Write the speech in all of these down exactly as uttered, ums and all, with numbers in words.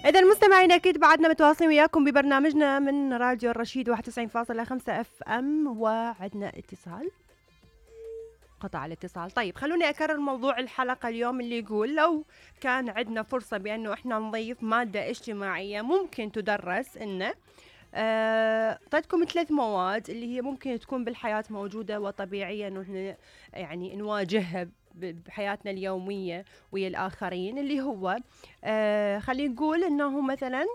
إذا مستمعينا أكيد بعدنا متواصلين وياكم ببرنامجنا من راديو الرشيد واحد وتسعين فاصلة خمسة اف ام، وعدنا اتصال. قطع الاتصال. طيب خلوني أكرر موضوع الحلقة اليوم اللي يقول لو كان عندنا فرصة بأنه إحنا نضيف مادة اجتماعية ممكن تدرس إنه آه، أعطيتكم ثلاث مواد اللي هي ممكن تكون بالحياة موجودة وطبيعية إنه إحنا يعني نواجهها بحياتنا اليومية ويا الآخرين، اللي هو آه خلينا نقول إنه مثلا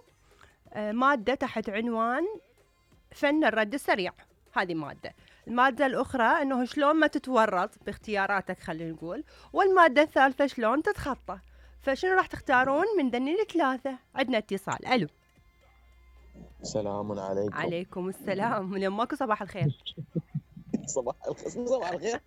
آه مادة تحت عنوان فن الرد السريع، هذه مادة. المادة الأخرى إنه شلون ما تتورط باختياراتك خلينا نقول، والمادة الثالثة شلون تتخطى. فشنو راح تختارون من ذني الثلاثة؟ عندنا اتصال. ألو. سلام عليكم. عليكم السلام، من يماكو صباح الخير. صباح الخير. صباح الخير.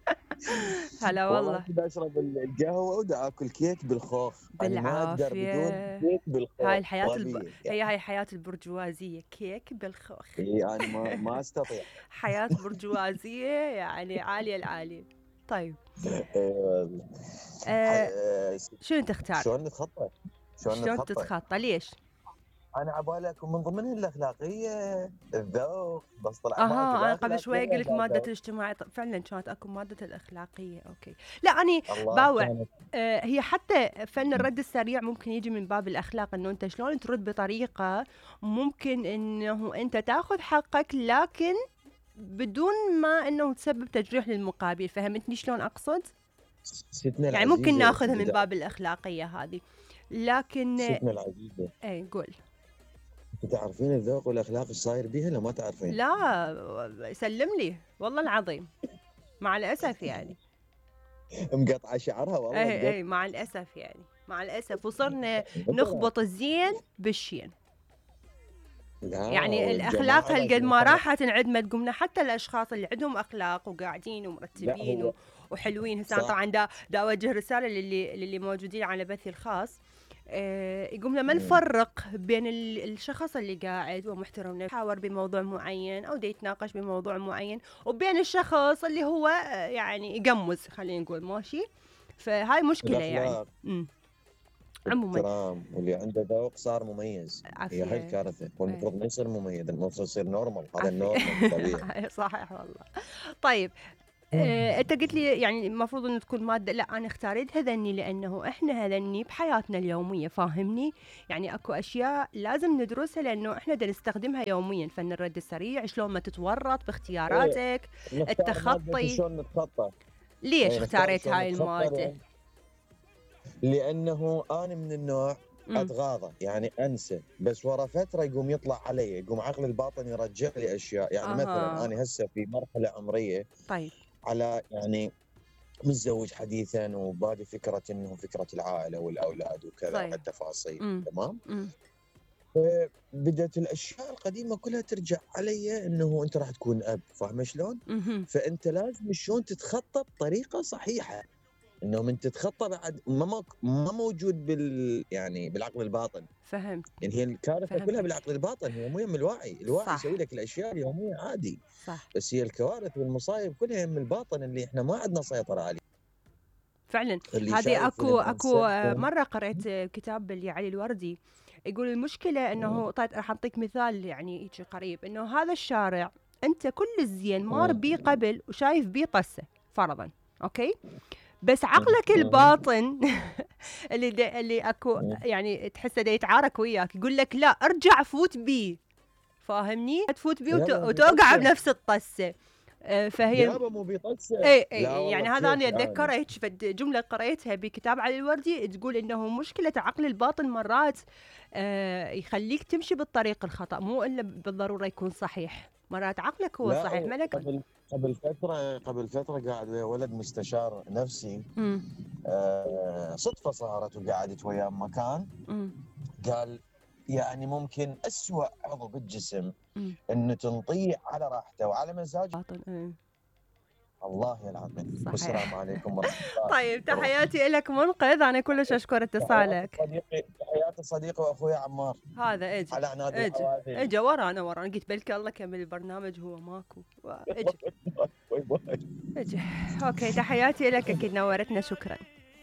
هلا والله. بدي اشرب القهوه ودا اكل كيك بالخوخ. بالعافيه. بدون كيك بالخوخ. هاي الحياه الب... يعني. هي هاي حياه البرجوازيه، كيك بالخوخ. اي انا ما ما استطيع. حياه برجوازيه يعني عاليه العاليه. طيب آه شنو تختار؟ شلون نتخطى؟ شلون تتخطى؟ ليش؟ انا عبالي اكون من ضمنها الاخلاقيه، الذوق، بس طلع اها انا قبل شوي قلت ماده الاجتماع، فعلا كانت اكو ماده الاخلاقيه. اوكي لا اني باوع آه هي حتى فن الرد السريع ممكن يجي من باب الاخلاق، انه انت شلون ترد بطريقه ممكن انه انت تاخذ حقك لكن بدون ما انه تسبب تجريح للمقابل. فهمتني شلون اقصد؟ يعني ممكن ناخذها من باب الاخلاقيه هذه، لكن ستنا العزيزه اي قول. تعرفين الذوق والاخلاق ايش صاير بيها لو ما تعرفين؟ لا سلم لي والله العظيم، مع الاسف يعني مقطعه شعرها والله. اي اي مع الاسف يعني مع الاسف وصرنا نخبط الزين بالشين. يعني الاخلاق هالقد ما راحت انعدمت، قمنا حتى الاشخاص اللي عندهم اخلاق وقاعدين ومرتبين و... وحلوين. هسه طبعا دا دا اوجه رساله للي للي موجودين على بثي الخاص. آه يقومنا ما نفرق بين الشخص اللي قاعد ومحترم يحاور بموضوع معين او دا يتناقش بموضوع معين، وبين الشخص اللي هو آه يعني يقمز خلينا نقول ماشي. فهاي مشكله يعني. امم عموما واللي عنده ذوق صار مميز. هي هاي الكارثه، والمفروض ما يصير مميز، المفروض يصير نورمال. هذا النورمال طبيعي. صحيح والله. طيب آه، انت قلت لي يعني المفروض انه تكون ماده، لا انا اختاريت هذني لانه احنا هذني بحياتنا اليوميه، فاهمني؟ يعني اكو اشياء لازم ندرسها لانه احنا بدنا نستخدمها يوميا. فن الرد السريع، شلون ما تتورط باختياراتك، ايه. التخطي. شلون نتخطى؟ ليش ايه اختاريت هاي الماده؟ لانه انا من النوع اتغاضى، يعني انسى، بس ورا فتره يقوم يطلع علي، يقوم عقلي الباطن يرجع لي اشياء. يعني آه. مثلا انا هسه في مرحله عمريه طيب على يعني متزوج حديثا وبادي فكره انه فكره العائله والاولاد وكذا طيب. والتفاصيل تمام. بدات الاشياء القديمه كلها ترجع علي انه انت راح تكون اب، فاهم شلون؟ فانت لازم شلون تتخطى بطريقه صحيحه، انه من تتخطى بعد ما ما موجود بال يعني بالعقل الباطن. فهمت. يعني هي الكارثه كلها بالعقل الباطن، هي مو يم الوعي. الوعي يسوي لك الاشياء اليوميه عادي صح. بس هي الكوارث والمصايب كلها يم الباطن اللي احنا ما عندنا سيطره عليه فعلا. هذه اكو اكو مره قرأت كتاب لعلي الوردي يقول المشكله انه طيب راح اعطيك مثال يعني هيك قريب، انه هذا الشارع انت كل الزين مار بيه قبل وشايف بيه طسه فرضا، اوكي، بس عقلك الباطن اللي دي اللي اكو يعني تحسه دا يتعارك وياك، يقول لك لا ارجع فوت بيه، فاهمني؟ تفوت بيه وت... وتوقع بنفس الطسه. فهي يابا مو بيطسه. اي اي يعني هذا انا اتذكر هيك جمله قريتها بكتاب علي الوردي تقول انه مشكله عقل الباطن مرات آه يخليك تمشي بالطريق الخطا، مو الا بالضروره يكون صحيح، مرات عقلك هو صحيح. ملك قبل قبل فتره قبل فتره قاعد ويا ولد مستشار نفسي آه صدفه صارت، وقعدت وياه بمكان قال يعني ممكن أسوأ عضو بالجسم م. انه تنطيه على راحته وعلى مزاجه. ايه. الله العظيم. السلام عليكم ورحمه الله. طيب تحياتي لك منقذ، انا كلش اشكر اتصالك. صديقي تحياتي صديقي واخوي عمار. هذا اجي على عناد اجي اجي ورانا ورانا قلت بلكي الله كمل البرنامج هو ماكو. اجي اجي اوكي تحياتي لك، اكيد نورتنا، شكرا.